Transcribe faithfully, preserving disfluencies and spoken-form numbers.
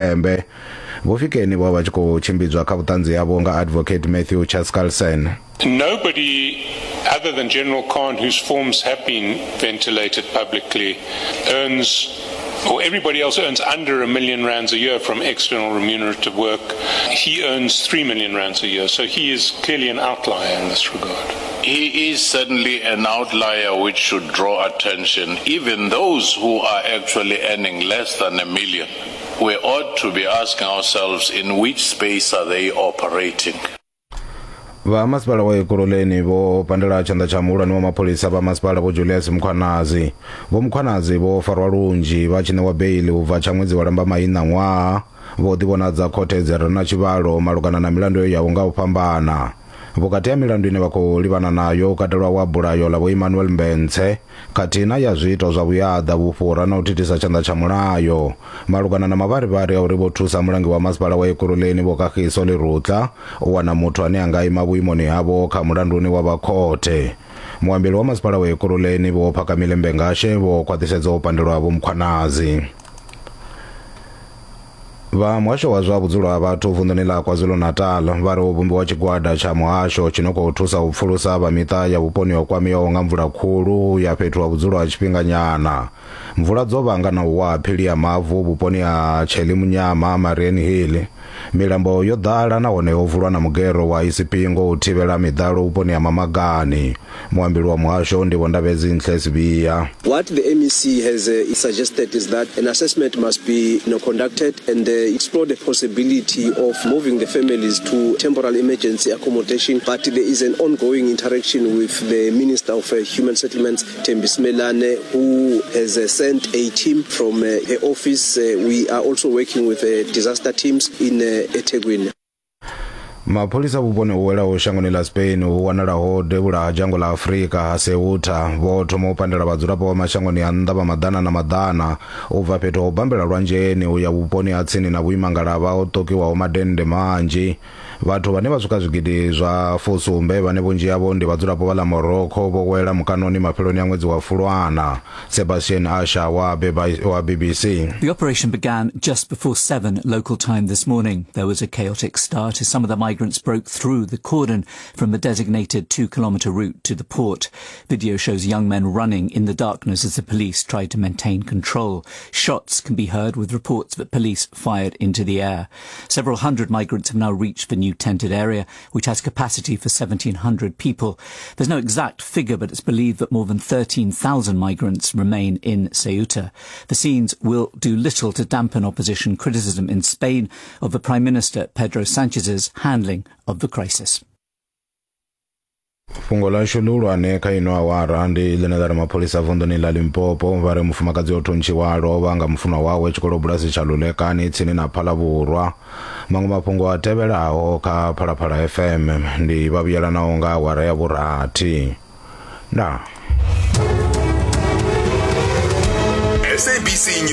Tshipembe. Vho Fikeni vho vha vha tshi khou tshimbidzwa kha vhuṱanzi havho nga Advocate Matthew Chaskalson. Nobody other than General Khan, whose forms have been ventilated publicly, earns, or everybody else earns under a million rands a year from external remunerative work. He earns three million rands a year, so he is clearly an outlier in this regard. He is certainly an outlier which should draw attention. Even those who are actually earning less than a million, we ought to be asking ourselves, in which space are they operating? Vha masipala wa Ekurhuleni vho pandela tshanḓa tsha muhulwane wa mapholisa vha masipala Vho Julius Mkhwanazi. Vho Mkhwanazi vho farwa lunzhi vha tshi ṋewa beiḽi u bva tsha ṅwedzi wa Lambamai ṋaṅwaha. Vho ḓivhonadza khothe dzi re na tshivhalo malugana na milandu yaho nga u fhambana. Vhukati ha milandu ine vha khou livhana nayo u katelwa wa bulayo ḽa Vho Emmanuel Mbense khathihi na ya zwiito zwa vhuyaḓa, vhufhura na u thithisa tshanḓa tsha mulayo malugana na mavharivhari a uri vho thusa mulangi wa masipala wa Ekurhuleni Vho Kagiso Lerutla u wana muthu ane a nga ima vhuimoni havho kha mulanduni wa vha khothe. Muambeli wa masipala wa Ekurhuleni Vho Phakamile Mbengashe vho khwaṱhisedza u pandelwa ha Vho Mkhwanazi. Vha muhasho wa zwa vhudzulo ha vhathu vunḓuni ḽa KwaZulu-Natal vha ri ho vhumbiwa tshigwada tsha muhasho tshi no khou thusa u pfulusa vha miṱa ya vhuponi ho kwameaho nga mvula khulu ya fhethu ha vhudzulo ha tshifhinganyana. Mvula dzo vhanga na u wa ha phili ya mavu vhuponi ha Tshelimunyama, Mariannhill. Milambo yo ḓala nahone ho vulwa na mugero wa Isipingo u thivhela miḓalo vhuponi ha Mamagani. Muambeli wa muhasho ndi Vho Ndabezinhle Sibiya. What the M E C has uh, suggested is that an assessment must be you know, conducted and uh, explore the possibility of moving the families to temporary emergency accommodation. But there is an ongoing interaction with the Minister of uh, Human Settlements, Thembi Simelane, who has uh, sent a team from uh, her office. Uh, we are also working with uh, disaster teams in uh, eThekwini. Mapholisa vhuponi hu welaho shangoni ḽa Spain hu wanalaho devhula ha dzhango ḽa Afrika ha Ceuta vho thoma u pandela vhadzulapo vha mashangoni a nnḓa vha maḓana na maḓana u bva fhethu ha u bambela lwanzheni u ya vhuponi ha tsini na vhuimangalavha ho ṱokiwaho madennde manzhi. Vhathu vhane vha swika zwigidi zwa fusumbe, vhane vhunzhi havho ndi vhadzulapo vha ḽa Morocco, vho wela mukanoni mafheloni a ṅwedzi wa Fulwana. Sebastian Asha wa, wa B B C. The operation began just before seven local time this morning. There was a chaotic start as some of the migrants broke through the cordon from the designated two kilometre route to the port. Video shows young men running in the darkness as the police tried to maintain control. Shots can be heard, with reports that police fired into the air. Several hundred migrants have now reached the new tented area, which has capacity for seventeen hundred people. There's no exact figure, but it's believed that more than thirteen thousand migrants remain in Ceuta. The scenes will do little to dampen opposition criticism in Spain of the Prime Minister Pedro Sanchez's handling of the crisis. Fhungo ḽashu ḽihulwane kha ino awara ndi ḽine ḽa ri mapholisa vunḓuni ḽa Limpopo vha ri mufumakadzi o thuntshiwa a lovha nga mufunwa wawe tshikolobulasi tsha Lulekani tsini na Phalavhurwa. Maṅwe mafhungo a tevhelaho kha Phalaphala F M ndi vha vhuyelanaho nga awara ya vhurathi. Ndaa. S A B C News.